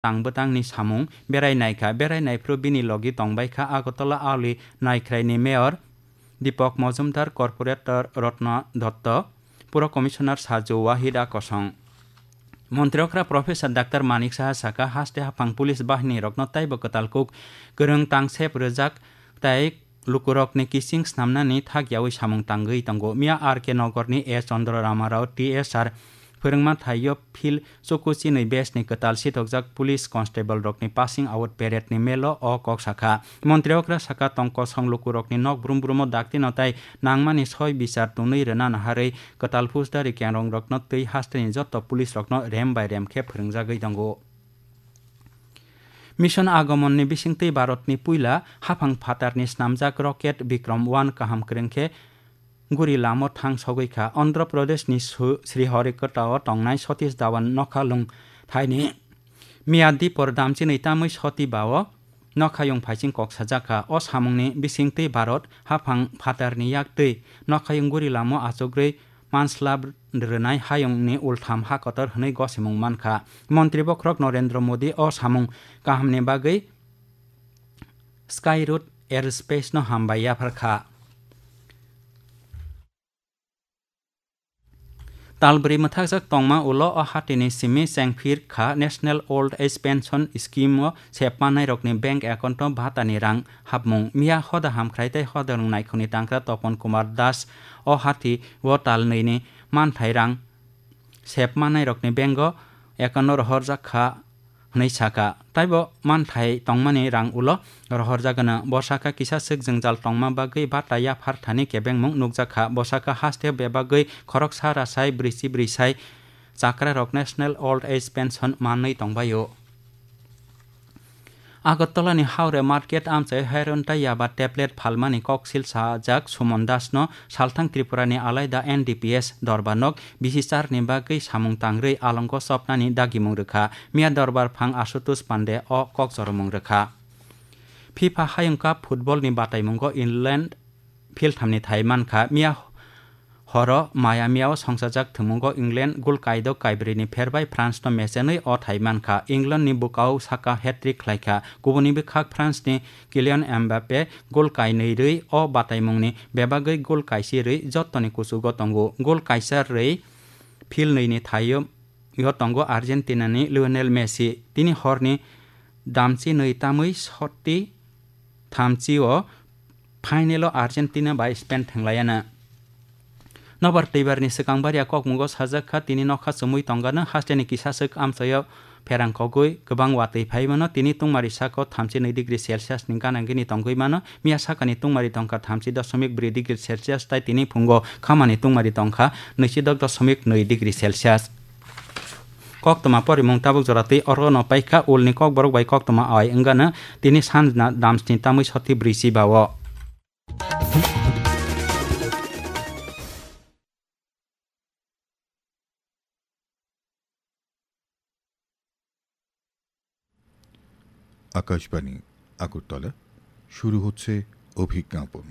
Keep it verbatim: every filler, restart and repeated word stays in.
tang bwtangni samung berai naikha. Berai naiphuru bini logi tongbaikha Agartala Auli Naikhraini Mayor Deepak Majumdar, Corporator Ratna Dutta, Pura Commissioner Saju Wahida Kosong. Montri okra Professor Doctor Manik Saha saka, haste haphang police bahini rokno taibo kwtal kuk kwrwng tangsep rwjak tai lukurokni kising snamnani thak yaui samung tangwi tongo. Miya R K Nogorni A Chandra Rama Rao T S R phwrwngma thaio phil chuku chinwi bes ni kwtal sitokjak police constable rokni passing out parade ni melo o kok sakha. Montri okra saka tong kosong lukurokni nok brum brumo daktino tai nangmani soi bichar tunwi rwna naharwi kwtal phusdari kenrong rokno twi hasteni jotto police rokno rem bai rem khe phwrwngjagwi tongo. Mission Agomon ni bisingtwi Bharat ni puila haphang phatar ni snamjak rocket Vikram one kaham kwrwng khe guri lamo thang sogwi kha. Andhra Pradesh ni Su-, Sriharikota o tongnai Satish Dhawan nokha lung thaini Miyadipor damchinwi tamwi Sati ba o nokhayung phaiching kok sajak kha. O samungni bisingtwi Bharat haphang phatarni yaktwi nokhayung guri lamo achugwi manslab rwnai hayungni ultham ha kotor hwnwi gosimung mankha. Montri bokhorok Narendra Modi o samung kahamni bagwi Sky Route Aerospace no hambai yapharkha. Talbri mwthakjak tongma ulo o hatini simi chengphir kha National Old Age Pension Scheme o sepmanairokni bank account o bhatani rang hapmung. Miya hoda hamkhrai tei hoda rwng naikhungni tangkra Topon Kumar Das o hati o talnwini manthai rang sepmanairokni bank o account o rohorjak kha hwnwi saka. Taibo manthai tongmani rang ulo rohorjagano. Bo saka kisa swk jwngjal tongma bagwi bata yaphar thani kebengmung nukjakha. Bo saka haste bebagwi khoroksa rasai brwichi brwisai chakrarok National Old Age Pension manwi tongbaio. Agartala ni Haure Market amchai heroin tai yaba tablet phalmani koksil sajak Suman Das no salthang Tripura ni alaida N D P S dorbar nok bisi char ni bagwi samung tangrwi alongo chopnani dagimung rwkha. Miya dorbar phang Ashutosh Pande o kok choromung rwkha. FIFA Hayung Cup football ni bataimungo England philthamni thai mankha. Miya horo Miami o songchajak thwngmungo England gol kaidok kaibrwi ni pherbai France no mechenwi o thai mankha. England ni bwkao saka hat-trick khlaikha. Kubuni bwkhak France ni Kylian Mbappe gol kainwi rwi o bataimungni bebagwi gol kaisi rwi jottoni kuchugo tongo. Gol kaisa rwi philnwi ni thaio yo tongo Argentina ni Lionel Messi. Tini horni damchi nwi tamwi soti thamchi o final o Argentina bai Spain thwnglaiana. Nobar twibar ni swkang baria kokmungo sajak kha, tini nokha chumui tongano hasteni kisa swk amchaio pherang kogwi kwbang watwi phai mano. Tini tungmari sako thamchi nwi degree Celsius ni gana gini tongwi mano. Miya sakani tungmari tongkha thamchi dosomik brwi degree Celsius tai tini phungo khamani tungmari tongkha nwichi dok dosomik nwi degree Celsius. Koktwma porimung tabuk jora twi oro no paikha ulni kokborok bai koktwma ai wngano tini sanjna damsni tamwi soti brwi si ba o. Akashvani, আগরতলা। শুরু হচ্ছে অভিজ্ঞাপন।